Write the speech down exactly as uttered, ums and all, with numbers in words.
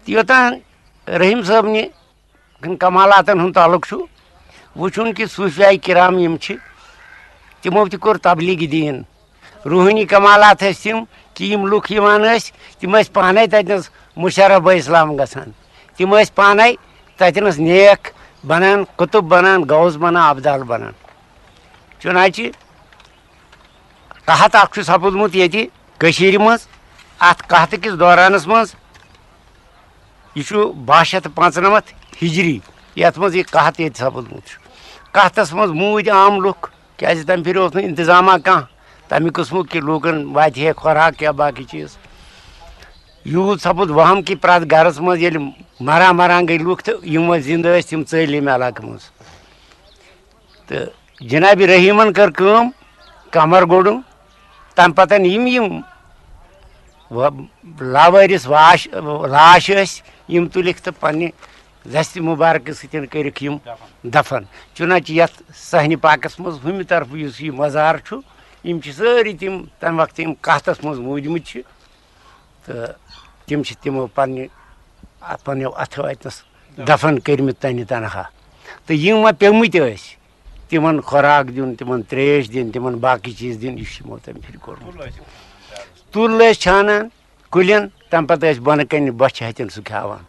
تہٕ یوٚتام رحیٖم صٲبنہِ کمالاتن ہُنٛد تعلق چھُ، وٕچھُن کہِ صوٗفیاے کرام یِم چھِ، تِمو تہِ کوٚر تبلیغ دیٖن۔ روحٲنی کمالات ٲسۍ تِم کہِ یِم لُکھ یِوان ٲسۍ، تِم ٲسۍ پانے تتہِ نس مشرف بہ اسلام گژھان۔ تِم ٲسۍ پانے تتہِ نس نیک بنان، قطب بنان، غوث بنان، ابدال بنان۔ چُنانچہ قحط اکھ چھُ سپُدمُت ییٚتہِ کٔشیٖرِ منٛز۔ اتھ قحطہٕ کِس دورانس منٛز، یہِ چھُ باہ شیٚتھ تہٕ پانٛژنمتھ ہجری، یتھ منٛز یہِ قحط ییٚتہِ سپُدمُت چھُ۔ قحطس منٛز موٗدۍ عام لُکھ، کیازِ تمہِ پھِرِ اوس نہٕ انتظامہ کانٛہہ تمہِ قٕسمُک کہِ لوٗکن واتہِ ہے خوراک یا باقٕے چیٖز۔ یوٗت سپُد وہم کہِ پرٛٮ۪تھ گرس منٛز ییٚلہِ مران مران گٔے لُکھ تہٕ یِم وۄنۍ زِندٕ ٲسۍ، تِم ژٔلۍ ییٚمہِ علاقہٕ منٛز۔ تہٕ جناب رحیمن کٔر کٲم، کمر گوٚڈُن۔ تمہِ پتہٕ یِم یِم و-، لاوٲرِث واش، لاش ٲسۍ، یِم تُلِکھ تہٕ پننہِ دستِ مُبارکہٕ سۭتۍ کٔرِکھ یِم دفن۔ چُنانچہ یتھ صحنِ پاکس منٛز ہُمہِ طرفہٕ یُس یہِ مزار چھُ، یِم چھِ سٲری تِم تمہِ وقتہٕ یِم قحطس منٛز موٗدمٕتۍ چھِ، تہٕ تِم چھِ تِمو پننہِ، پننیو اتھو اتنس دفن کٔرمٕتۍ تنہِ تنہا۔ تہٕ یِم وۄنۍ پیٚمٕتۍ ٲسۍ، تِمن خوراک دیُن، تِمن تریش دِنۍ، تِمن باقٕے چیٖز دِنۍ، یہِ چھُ یِمو تمہِ پھِرِ کوٚرمُت۔ تُل ٲسۍ چھانان کُلٮ۪ن، تمہِ پتہٕ ٲسۍ بۄنہٕ کنہِ بۄچھِ ہتٮ۪ن سُہ کھیاوان۔